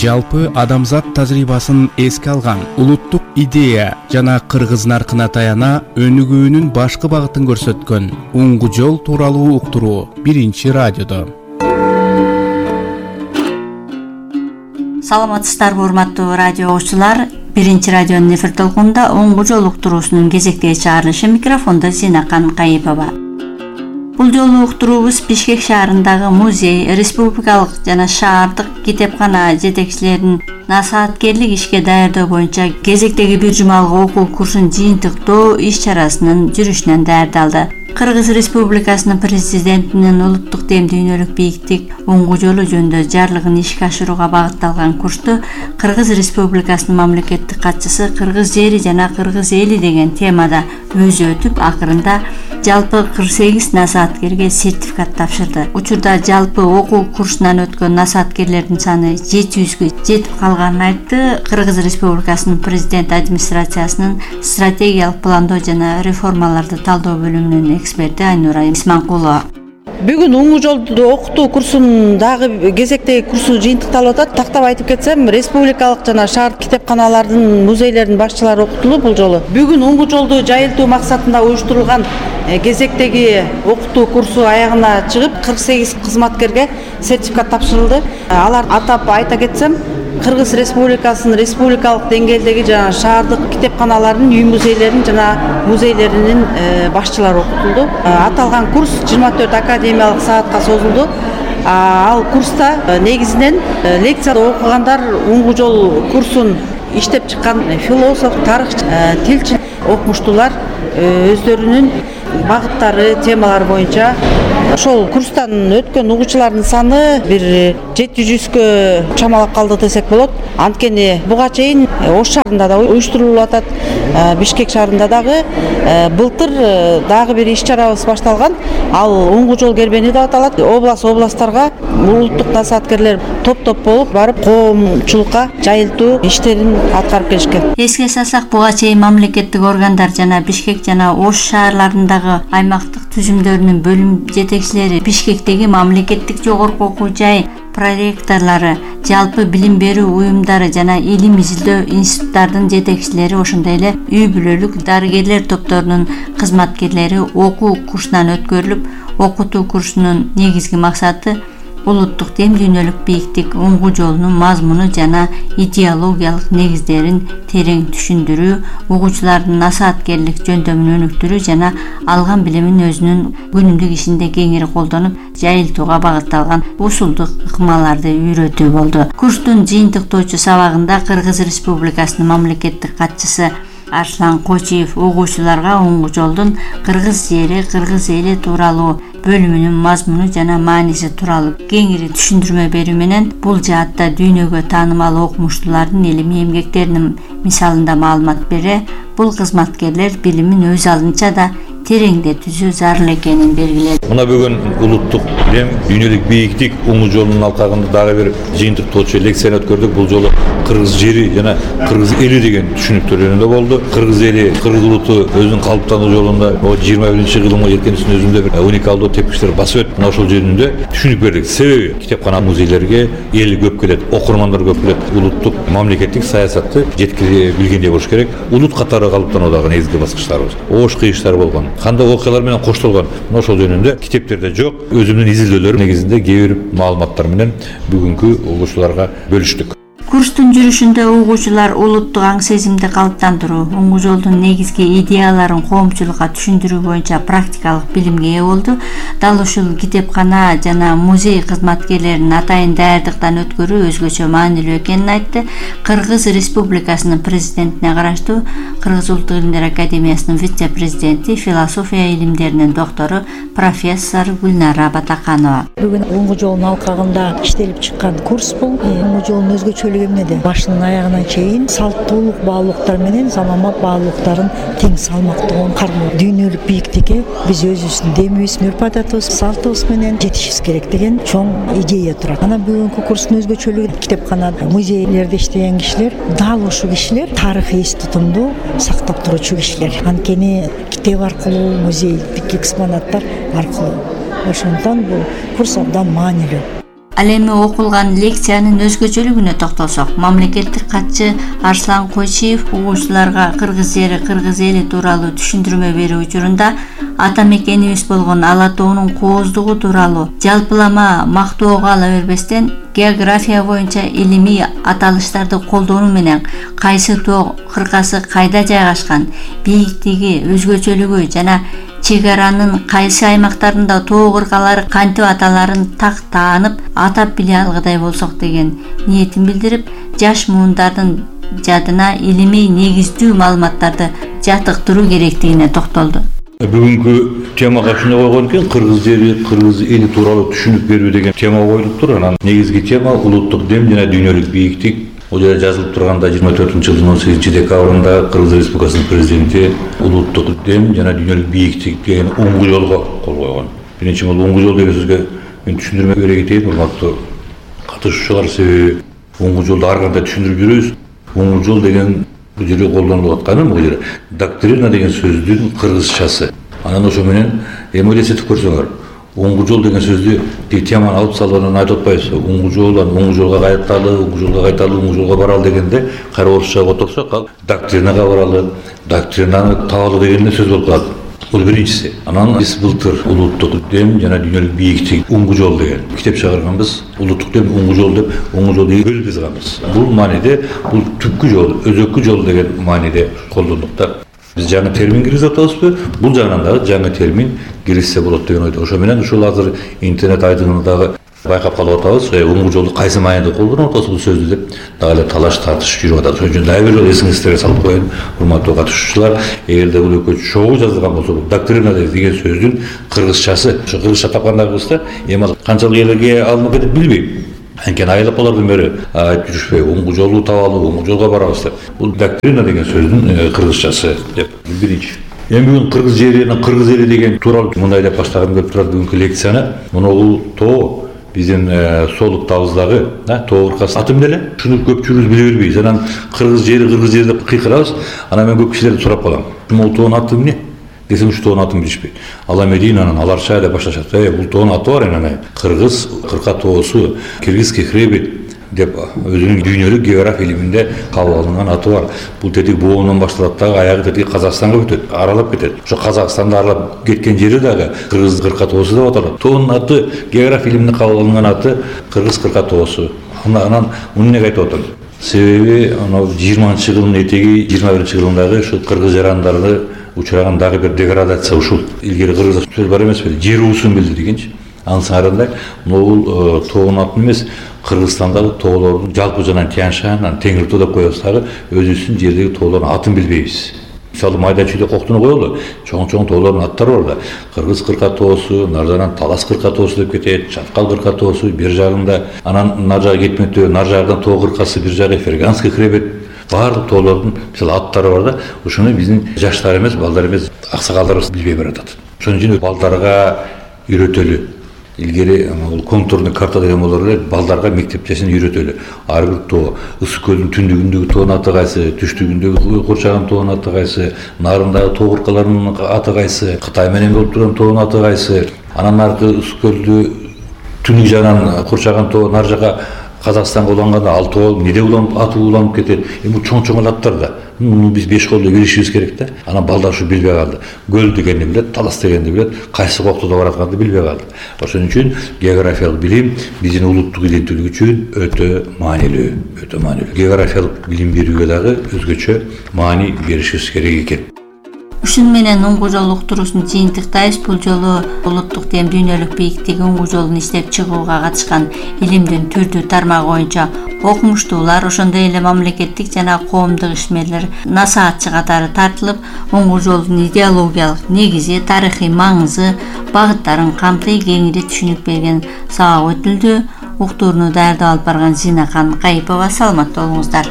жалпы адамзат тажрыйбасын эске алган улуттук идея жана кыргыз наркына таяна өнүгүүнүн башкы багытын көрсөткөн уңгу жол тууралуу уктуруу биринчи радиодо. Саламатсыздарбы урматтуу радио угуучулар? Биринчи радионун эфир толкунунда уңгу жол уктуруусунун кезектеги чыгарылышы, микрофондо Зинакан Кайыпова. Бул жолу уктуруубуз Бишкек шаарындагы музей, республикалык жана шаардык китепкана жетекчилеринин насааткерлик ишке даярдоо боюнча кезектеги бир жумалык окуу курсун жыйынтыктоо иш-чарасынын жүрүшүнөн даярдалды. Кыргыз Республикасынын президентинин улуттук дем дүйнөлүк бийиктик уңгу жолу жөнүндө жарлыгын ишке ашырууга багытталган курсту Кыргыз Республикасынын мамлекеттик катчысы кыргыз жери жана кыргыз эли деген темада өзү өтүп, акырында жалпы 48 насааткерге сертификат тапшырды. Учурда жалпы окуу курсунан өткөн насааткерлердин саны 700гө жетип калганын айтты. Кыргыз Республикасынын президент администрациясынын стратегиялык пландоо жана реформаларды талдоо бөлүмүнүн эксперти Айнура Исманкулова. Бүгүн уңгу жолду окутуу курсунун дагы кезектеги курсу жыйынтыкталып атат. Тактап айтып кетсем, республикалык жана шаар китепканалардын, музейлердин башчылары окутулду бул жолу. Бүгүн уңгу жолду жайылтуу максатында уюштурулган кезектеги окутуу курсу аягына чыгып, 48 кызматкерге сертификат тапшырылды. Алар атап айта кетсем, Кыргыз Республикасынын республикалык деңгээлдеги жана шаардык китепканалардын, үй музейлеринин жана музейлеринин башчылары окутулду. Аталган курс 24 академиялык саатка созулду. Ал курста негизинен лекцияда окугандар уңгу жол курсун иштеп чыккан философ, тарыхчы, тилчи окумуштуулар өздөрүнүн багыттары, темалары боюнча ошол курстан өткөн угуучулардын саны бир 700гө чамалап калды десек болот. Анткени буга чейин Ош шаарында да уюштурулуп атат, Бишкек шаарында дагы былтыр дагы бир иш-чарабыз башталган. Ал уңгу жол кербени деп аталат. Областтарга улуттук насааткерлер топ-топ болуп барып коомчулукка жайылтуу иштерин аткарып келишкен. Эске салсак, буга чейин мамлекеттик органдар жана Бишкек жана Ош шаарларындагы аймактык түзүмдөрүнүн бөлүм жетекчилери, Бишкектеги мамлекеттик жогорку окуу жай проректорлору, жалпы билим берүү уюмдары жана илим изилдөө институттардын жетекчилери, ошондой эле үй бүлөлүк дарыгерлер топторунун кызматкерлери окуу курсунан өткөрүлүп, окутуу курсунун негизги максаты улуттук дем дүйнөлүк бийиктик уңгу жолунун мазмуну жана идеологиялык негиздерин терең түшүндүрүү, угуучулардын насааткерлик жөндөмүн өнүктүрүү жана алган билимин өзүнүн күнүмдүк ишинде кеңири колдонуп, жайылтууга багытталган усулдук ыкмаларды үйрөтүү болду. Курстун жыйынтыктоочу сабагында Кыргыз Республикасынын мамлекеттик катчысы Арслан Кочиев угуучуларга уңгу жолдун кыргыз жери, кыргыз эли тууралуу бөлүмүнүн мазмуну жана мааниси тууралуу кеңири түшүндүрмө берүү менен бул жаатта дүйнөгө таанымал окумуштуулардын илимий эмгектеринин мисалында маалымат бере, бул кызматкерлер билимин өз алдынча да тереңдетүүсү зарыл экенин белгиледи. Мына бүгүн улуттук дем дүйнөлүк бийиктик уңгу жолунун алкагында дагы бир жыйынтыктоочу лекцияны өткөрдүк. Бул жолу кыргыз жери жана кыргыз эли деген түшүнүктөр жөнүндө болду. Кыргыз эли, кыргыз улуту өзүнүн калыптануу жолунда 21-кылымга жеткенисин өзүндө бир уникалдуу тепкичтер басып өтүп, ошол жөнүндө түшүнүк бердик. Себеби китепкана, музейлерге эл көп келет, окурмандар көп келет. Улуттук мамлекеттик саясатты жеткире билгендей болуш керек. Улут катары калыптануудагы негизги баскычтарыбыз. Оош кыйыштар болгон, кандай окуялар менен коштолгон, ошол жөнүндө китептерде жок. Өзүмдүн изилдөөлөрүм негизинде кээ бир маалыматтар менен бүгүнкү угуучуларга бөлүштүк. Курстун жүрүшүндө угуучулар улуттук аң сезимди калыптандыруу, уңгу жолдун негизги идеяларын коомчулукка түшүндүрүү боюнча практикалык билимге ээ болду. Дал ушул китепкана жана музей кызматкерлерин атайын даярдыктан өткөрүү өзгөчө маанилүү экенин айтты. Кыргыз Республикасынын президентине караштуу Кыргыз Улуттук илимдер академиясынын вице-президенти, философия илимдеринин доктору профессор Гүлнара Батаканова. Бүгүн уңгу жолдун алкагында иштелип чыккан курс бул. Уңгу жолдун өзгөчөлүгү эмнеде? Башынан аягына чейин салттуулук баалуулуктар менен заманбап баалуулуктарын тең салмактуу кармоо. Дүйнөлүк бийиктикке биз өзүбүздүн демибиз, үрп-адатыбыз, салтыбыз менен жетишибиз керек деген чоң идея турат. Анан бүгүнкү курстун өзгөчөлүгү китепкана, музейлерде иштеген кишилер, дал ушул кишилер тарыхый эс тутумду сактап туруучу кишилер. Анткени китеп аркылуу, музейдик экспонаттар аркылуу. Ошондон бул курс абдан маанилүү. Ал эми окулган лекциянын өзгөчөлүгүнө токтолсок, мамлекеттик катчы Арслан Койчиев угуучуларга кыргыз жери, кыргыз эли тууралуу түшүндүрмө берүү учурунда ата мекенибиз болгон Ала тоонун кооздугу тууралуу жалпылама мактоого ала бербестен, география боюнча илимий аталыштарды колдонуу менен кайсы тоо кыркасы кайда жайгашкан, бийиктиги, өзгөчөлүгү жана чек аранын кайсы аймактарында тоо кыркалары кантип аталарын так таанып атап биле алгыдай болсок деген ниетин билдирип, жаш муундардын жадына илимий негиздүү маалыматтарды жатыктыруу керектигине токтолду. Бүгүнкү темага ушуну койгон экен, кыргыз жери, кыргыз эли тууралуу түшүнүк берүү деген тема коюлуптур. Анан негизги тема улуттук дем жана дүйнөлүк бийиктик. Бул жерде жазылып турганда 24-жылдын 18-декабрында Кыргыз Республикасынын президенти улуттук дем жана дүйнөлүк бийиктик деген оңгу жолго кол койгон. Биринчи бул оңгу жол деген сөзгө мен түшүндүрмө бере кетейин, урматтуу катышуучулар. Себеби оңгу жолду ар кандай түшүндүрүп жүрөбүз. Оңгу жол деген бул жерде колдонулуп атканы бул жерде доктрина деген сөздүн кыргызчасы. Анан ошо менен эми элестетип көрсөңөр, оңгу жол деген сөздү теманы алып салып анан айтып атпайбызбы? Оңгу жол, оңгу жолго кайталы, оңгу жолго кайталы, оңгу жолго баралы дегенде кайра орусчага которсок, ал доктринага баралы, доктринаны табалы деген сөз болуп калат. Бул биринчиси. Анан биз былтыр улуттук дем жана дүйнөлүк бийиктик оңгу жол деген китеп чыгарганбыз. Улуттук дем оңгу жол деп, оңгу жолду бөлүп жазганбыз. Бул мааниде бул түпкү жол, өзөккү жол деген мааниде колдондук да. Биз жаңы термин киргизип атабызбы? Бул жагынан дагы жаңы термин киргизсе болот деген ойдо. Ошо менен ушул азыр интернет айдыңында дагы байкап калып атабыз. Оңгу жолду кайсы мааниде колдонуп атабыз бул сөздү деп дагы эле талаш тартыш жүрүп атат. Ошон үчүн дагы бир жолу эсиңизге салып коеюн, урматтуу катышуучулар. Эгерде бул экөө чогуу жазылган болсо, бул доктрина деген сөздүн кыргызчасы. Ошо кыргызча тапкандарыбызда эми канчалык элге алынып кетет билбейм. Анткени айылып алардын бери айтып жүрүшпөйбү, оңгу жолду табалы, оңгу жолго барабыз деп. Бул доктрина деген сөздүн кыргызчасы деп биринчи. Эми бүгүн кыргыз жери, кыргыз эли деген тууралуу мындай деп баштагым келип турат бүгүнкү лекцияны. Мына бул тоо биздин солуктабыздагы тоо кыркасы аты эмне эле? Шуну көпчүлүгүбүз биле бербейбиз. Анан кыргыз жери деп кыйкырабыз. Анан мен көп кишилерден сурап калам. Бул тоонун аты эмне? Десем ушу тоонун атын билишпейт. Ал эми анан аларча деп башташат. Бул тоонун аты бар эне. Кыргыз кырка тоосу, киргизский хребет деп өзүнүн дүйнөлүк география илиминде кабыл алынган аты бар. Бул тетиги Боонон башталат дагы аягы тетиги Казакстанга бүтөт, аралап кетет. Ошо Казакстанды аралап кеткен жери дагы кыргыз кырка тоосу деп аталат. Тоонун аты география илиминде кабыл алынган аты кыргыз кырка тоосу. Анан муну эмнеге айтып атам? Себеби анау 20-жылдын этеги 21-жылдагы ушу кыргыз жарандары учураган дагы бир деградация ушул. Илгери кыргызда сөз бар эмеспи? Жер уусун билдиргенчи. Анын сарында бул тоонун атын эмес, Кыргызстандагы тоолордун жалпы жана Тянь-Шань, Теңир тоо деп коебуз дагы өзүбүздүн жердеги тоолордун атын билбейбиз. Мисалы майда чүйдө коктуну коелу, чоң тоолордун аттары бар да. Кыргыз кырка тоосу, наржадан Талас кырка тоосу деп кетет, Чаткал кырка тоосу бир жагында, анан нар жагы кетмектөө, нар жагынан тоо кыркасы бир жагы Ферганский хребет. Баардык тоолордун мисалы аттары бар да. Ушуну биздин жаштар эмес, балдар эмес, аксакалдарыбыз билбей баратат. Ошон үчүн балдарга үйрөтөлү. Илгери бул контурный карта деген болор эле, балдарга мектепчесин үйрөтөлү. Ар бир тоо, Ысык көлдүн түндүгүндөгү тоонун аты кайсы, түштүгүндөгү курчаган тоонун аты кайсы, нарындагы тоо кыркаларынын аты кайсы, Кытай менен болуп турган тоонун аты кайсы, анан аркы Ысык көлдү түнүк жагынан курчаган тоо нар жака Казакстанга уланганда ал тоо эмнеде аты уланып кетет. Эми чоң аттар да. Муну биз беш колдо билишибиз керек да. Анан балдар ушу билбей калды. Көл дегенди билет, Талас дегенди билет, кайсы коктуда баратканды билбей калды. Ошон үчүн географиялык билим биздин улуттук иденттүүлүк үчүн өтө маанилүү. Географиялык билим берүүгө дагы өзгөчө маани беришибиз керек экен. Ушун менен оңгу жол уктуруусун жыйынтыктайбыз. Бул жолу улуттук дем дүйнөлүк бийиктик оңгу жолун иштеп чыгууга катышкан илимдин түрдүү тармагы боюнча окумуштуулар, ошондой эле мамлекеттик жана коомдук ишмерлер, насаатчы катары тартылып, оңгу жолдун идеологиялык негизи, тарыхый маңызы, багыттарын камтый кеңири түшүнүк берген сабак өтүлдү. Уктурууну даярдап алып барган Зинакан Кайыпова. Саламатта болуңуздар.